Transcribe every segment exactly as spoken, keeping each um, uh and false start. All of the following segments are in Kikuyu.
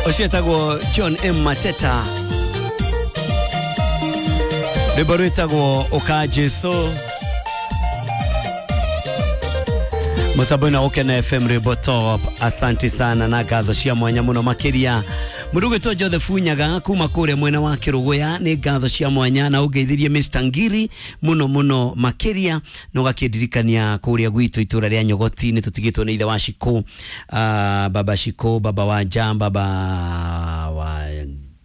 Ũcio etagwo John M Mateta, rwĩmbo rwĩtagwo Ũka Jesu, mũtambo-inĩ wa Gũkena F M, rwĩmbo top. Asante sana na ngatho cia mwanya mũno makĩria. Mũndũ ũgwĩtwo Joseph Nyaga kuma kũrĩa mwena wa Kĩrũgũya, nĩ ngatho cia mwanya na ũngeithirie Mister Ngiri mũno mũno makĩria, na ũgakĩndirikania kũrĩa gwitũ itũra rĩa Nyogoti nĩ tũtigĩtwo nĩ ithe wa Shikũ, uh, baba Shikũ, baba wa Jam, baba wa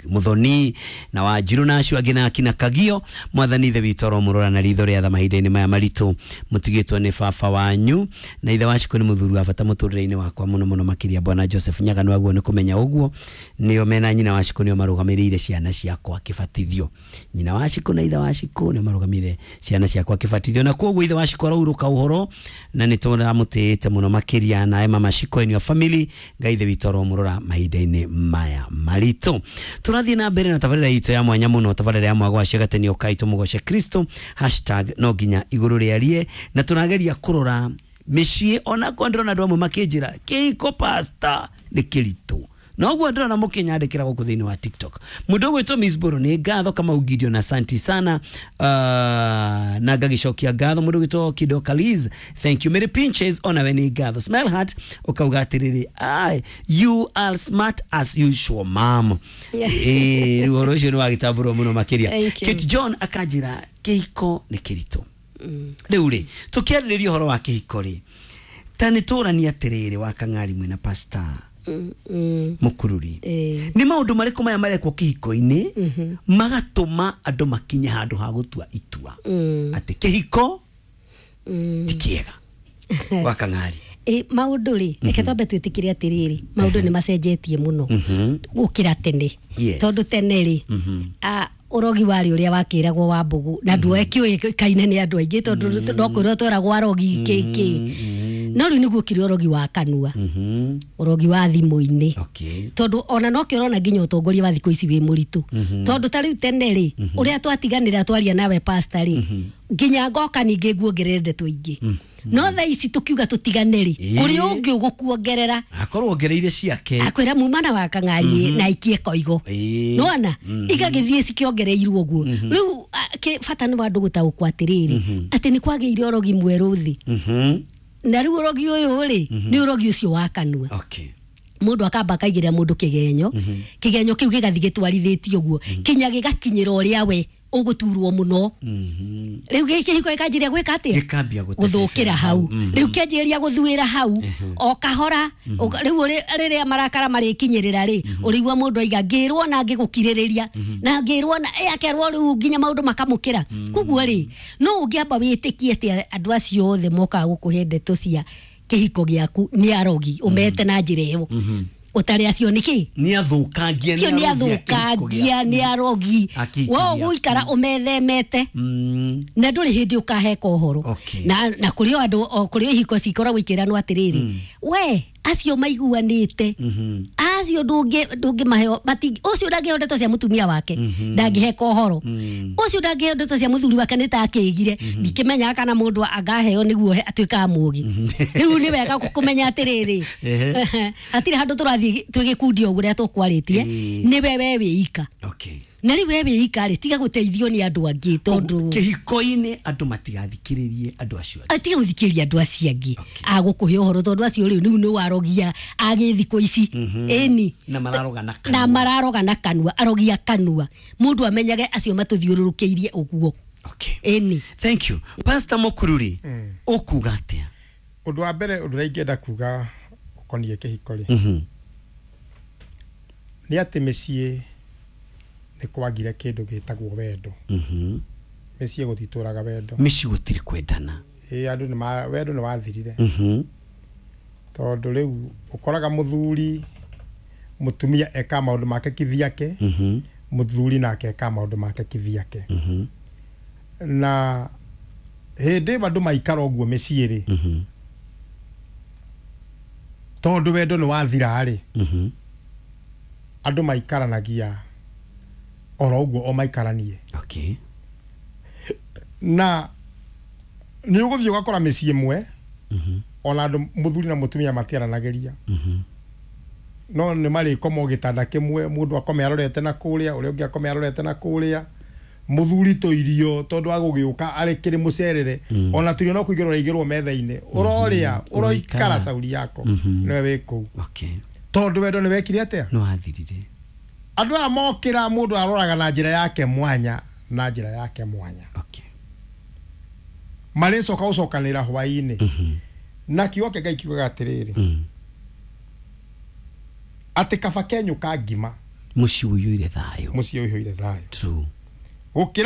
Muthoni na wa Njiru na acio angĩ na akina Kagio. Mwathani ithe witũ aromũrora na ritho rĩa tha mahinda-inĩ maya maritũ mũtigĩtwo nĩ baba wanyu, na ithe wa Shikũ nĩ mũthuri wa bata mũtũrĩre-inĩ wakwa mũno mũno makĩria. Bwana Joseph Nyaga nĩ waguo nĩ kũmenya ũguo, nĩo mena nyina wa Shikũ nĩo marũgamĩrĩire ciana ciakwa kĩbatithio. Nyina wa Shikũ na ithe wa Shikũ nĩo marũgamĩrĩire ciana ciakwa kĩbatithio, na koguo ithe wa Shikũ araurũka ũhoro na nĩ tũramũtĩĩte mũno makĩria. Nae mama Shikũ and your family, Ngai ithe witũ aromũrora mahinda-inĩ maya maritũ. Tũrathiĩ na mbere na tabarĩra itũ ya mwanya mũno, tabarĩra ya mwago wa ciagateni ũkai tũmũgoce Kristo, hashtag no nginya igũrũ rĩarie, na tũrageria kũrora mĩciĩ. Ona kwa ndĩrona andũ amwe makĩnjĩra kĩhiko pastor nĩ kĩritũ, noguo ndĩrona mũkĩnyandĩkĩra gũkũ thĩinĩ wa TikTok. Mũndũ ũgwĩtwo Miss Boro nĩ ngatho, Kamau Gideon asanti sana, uh, na ngagĩcokia ngatho. Mũndũ ũgwĩtwo Kido Kaliz, thank you. Mary Pinches onawe nĩ ngatho. Smile Heart ũkauga atĩrĩrĩ, ai, you are smart as usual ma'am. Eh, rĩu ũhoro ũcio nĩ wagĩtambũrwo mũno makĩria. Thank you. Kate John akanjĩra kĩhiko nĩ kĩritũ. Rĩu rĩ, tũkĩarĩrĩria ũhoro wa kĩhiko rĩ, ta nĩ tũranie atĩrĩrĩ wa Kang'ari mwĩna pastor Mm, mm. Mũkururi, Eh. nĩ maũndũ marĩkũ maya marekwo kĩhiko-inĩ magatũma andũ makinye handũ ha gũtua itua Mm. atĩ kĩhiko Mm. ti kĩega? Wa Kang'ari. Ĩ, maũndũ rĩ, reke twambe twĩtĩkĩre atĩrĩrĩ, maũndũ nĩ macenjetie mũno gũkĩra tene. Yes. Tondũ tene rĩ, ah, ũrogi warĩ ũrĩa wakĩragwo wa mbũgũ, na ndwekĩũĩkaine nĩ andũ aingĩ tondũ no kwĩrwo tweragwo arogi kĩkĩ. No rĩu nĩguo kĩrĩ ũrogi wa kanua, ũrogi wa thimũ-inĩ. Okay. Tondũ ona no kĩo ũrona nginya ũtongoria wa thikũ ici wĩ mũritũ. Tondũ ta rĩu tene rĩ, ũrĩa twatiganĩra twaria nawe pastor rĩ, nginya ngoka ningĩ nguongerere ndeto ingĩ. No thaa ici tũkiuga tũtigane rĩ, Ĩĩ. kũrĩ ũngĩ ũgũkuongerera. Akorwo ongereire ciake. Akwĩra muma na wa Kang'ari na aikie koigo. Ĩĩ. Nĩwona? Igagĩthiĩ cikĩongereirwo ũguo. Rĩu a, kĩ- bata nĩ wa andũ gũtaũkwo atĩrĩrĩ, atĩ nĩ kwagĩire ũrogi mwerũ thĩ. Mhm. Na rĩu ũrogi ũyũ rĩ, nĩ ũrogi ũcio wa kanua. Okay. Mũndũ akamba akaigĩrĩra mũndũ kĩgenyo, kĩgenyo kĩu gĩgathiĩ gĩtwarithĩtio ũguo kinya gĩgakinyĩra ũrĩa we ũgũturwo mũno. Rĩu gĩ- kĩhiko gĩkanjĩrĩria gwĩka atĩa? Gĩkambia gũtebebera Gũthũkĩra hau. Rĩu kĩanjĩrĩria gũthuĩra hau o kahora. Ũka- rĩu ũrĩ- rĩrĩa marakara marĩkinyĩrĩra rĩ, ũrĩigua mũndũ aiga ngĩrwo na ngĩgũkirĩrĩria na ngĩrwo na ĩ, akerwo rĩu nginya maũndũ makamũkĩra. Koguo rĩ, no ũngĩamba wĩtĩkie atĩ andũ acio othe mokaga gũkũhe ndeto cia kĩhiko gĩaku nĩ arogi, ũmete na njĩra ĩyo ũtarĩ acio nĩkĩ? Nĩ athũkangia, Acio nĩ arogi a kĩhiko athũkangia, gĩaku. nĩ arogi. A kĩhiko Wo gĩaku. ũgũikara ũmethemete Mm. na ndũrĩ hĩndĩ ũkaheka ũhoro. Okay. Na, na kũrĩ o andũ o kũrĩ o ihiko cikoragwo ikĩranwo atĩrĩrĩ, we acio maiguanĩte, acio ndũngĩ ndũngĩmaheo mati- ũcio ndangĩheo ndeto cia mũtumia wake ndangĩheka ũhoro, ũcio ndangĩheo ndeto cia mũthuri wake nĩ ta akĩigire. Ndikĩmenyaga kana mũndũ angaheo nĩguo he- atuĩkaga mũũgĩ. Rĩu nĩ wega kũmenya atĩrĩrĩ, hatirĩ handũ tũrathiĩ twĩ gĩkundi o ũguo ũrĩa tũkwarĩtie, Ĩĩ. nĩwe we wĩika. Okay. Na rĩu we wĩika rĩ, tiga gũteithio nĩ andũ angĩ tondũ kĩhiko-inĩ andũ matigathikĩrĩrie andũ acio angĩ. Atiga gũthikĩrĩria andũ acio angĩ agũkũhe ũhoro, tondũ acio rĩu rĩu nĩ warogia agĩ thikũ ici. Ĩni. Na mararoga na kanua. Na mararoga na kanua, arogia kanua. Mũndũ amenyage acio matũthiũrũrũkĩirie ũguo. Okay. Ĩni. Thank you. Pastor Mũkururi, ũkuga atĩa? Ũndũ wa mbere, ũndũ ũrĩa ingĩenda kuga ũkoniĩ kĩhiko rĩ, Mhm. nĩ atĩ mĩciĩ nĩ kwagire kĩndũ gĩtagwo wendo. Mhm. Mĩciĩ gũtitũraga wendo. Mĩciĩ gũtirĩ kwendana. Ĩ, andũ nĩ ma- wendo nĩ wathirire. Mhm. Tondũ rĩu ũkoraga mũthuri mũtumia eka maũndũ make kivyake, Mhm. mũthuri nake eka maũndũ make kivyake. Mhm. Na hĩndĩ ĩyo andũ maikara ũguo mĩciĩ rĩ, Mhm. tondũ wendo nĩ wathira rĩ, Mhm. andũ maikaranagia oro ũguo o maikaranie. Okay. Na nĩ ũgũthiĩ ũgakora mĩciĩ ĩmwe ona andũ mũthuri na mũtumia matiaranagĩria. Mhm. No nĩ marĩkoma o gĩtanda kĩmwe, mũndũ akome arorete na kũrĩa, ũrĩa ũngĩ akome arorete na kũrĩa. Mũthuri tũirio tondũ agũgĩũka arĩ kĩrĩ mũcerere, ona tũirio no kũigĩrwo ũraigĩrwo metha-inĩ, ũrorĩa ũroikara cauri yako nĩwe wĩ kũu. Okay. Tondũ wendo nĩ wekire atĩa? No athirire. Andũ aya mokĩra, mũndũ aroraga na njĩra yake mwanya, na njĩra yake mwanya. Okay. Marĩcoka gũcokanĩra hwaĩ-inĩ, na kiugo kĩa Ngai kiugaga atĩrĩrĩ, Mm. atĩ kaba kenyũ ka ngima Mũciĩ ũiyũire thayũ. Mũciĩ ũihũire thayũ True. Gũkĩra.